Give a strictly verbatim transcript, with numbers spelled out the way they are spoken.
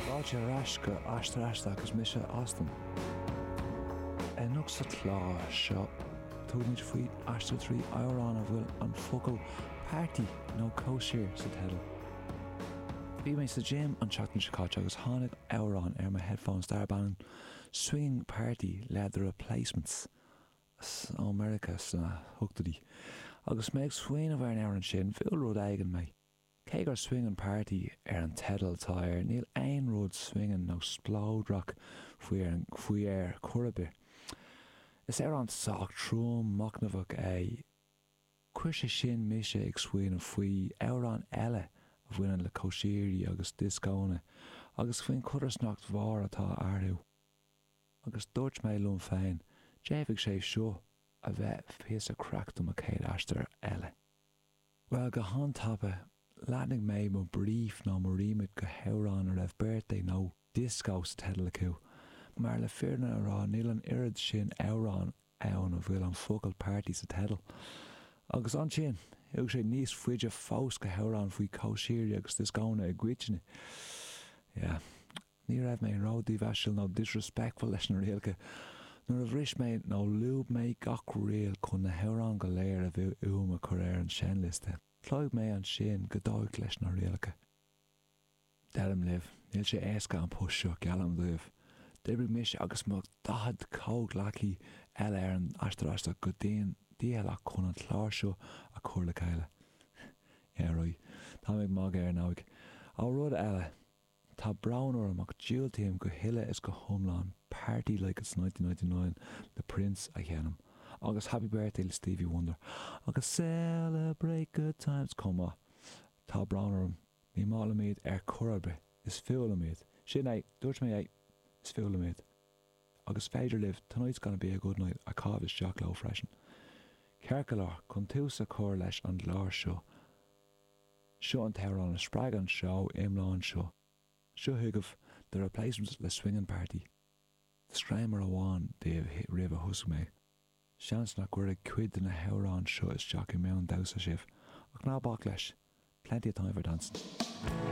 Fáilte ar ais go Aistear Aisteach agus mise Austin. Anocht sa chlár seo tugaimid faoi aistear trí amhrán a bhfuil an focal party nó cóisir sa teideal. Bhí mé sa gym an tseachtain seo caite agus tháinig amhrán ar mo headphones darb ainm Swinging Party le The Replacements ó Meiriceá sna hochtóidí. Agus mé ag smaoineamh ar an amhrán sin bhuail rud éigin mé. Cé gur swinging party ar an teideal atá air, níl aon rud swinging nó spleodrach faoi ar faoi ar chor ar bith. Is amhrán sách trom machnamhach é. Chuir sé sin mise ag smaoineamh faoi amhrán eile a bhaineann le cóisirí agus dioscónna, agus faoin chodarsnacht mhór atá eatarthu. Agus dúirt mé liom féin, d'fhéadfadh sé seo a bheith píosa craic do mo chéad aistear eile. Well go han-tapa, leathnaigh mé mo brief nó mo remit go hamhráin a raibh birthday nó disco sa teideal acu. Mar le fírinne a rá níl an oiread sin amhrán ann a bhfuil an focal party sa teideal. Agus ansin, thug sé níos faide fós go hamhráin faoi cóisirí agus dioscónna i gcoitinne. Yeah. Ní raibh mé ró-dhímheasúil nó disrespectful leis na rialacha. Nuair a bhris mé nó lúb mé gach riail chun na hamhráin go léir a bhí uaim a chur ar an seinnliosta. Chloígh mé ansin go dóigh leis na rialacha. Deirim libh, níl sé éasca an post seo geallaim daoibh. D'oibrigh mise agus mo daichead comhghleacaí eile ar an Aistear Aisteach go dian dícheallach chun an clár seo a chur le chéile. Yeah, right. Tá ag magadh ar ndóigh. Ó rud eile, Tá brón orm ach diúltaím go huile is go hiomlán Party Like It's nineteen ninety nine le Prince a sheinm, agus Happy Birthday le Stevie Wonder, agus Celebrate Good Times chomh maith. Tá brón orm, ní maith liom iad ar chor ar bith, is fuath liom iad. Sin é, dúirt mé é, is fuath liom iad. Agus féidir libh Tonight's Gonna Be a Good Night a chaitheamh isteach leo freisin. Ceart go leor, chun tús a chur leis an gclár seo, seo an t-amhrán a spreag an seó iomlán seo. Seo chugaibh The Replacements le Swingin' Party. Disclaimer amháin daoibh roimh a thosóidh mé. Seans nach gcuirfidh cuid de na hamhráin seo isteach i meon damhsa sibh, ach ná bac leis, plenty of time for dancing.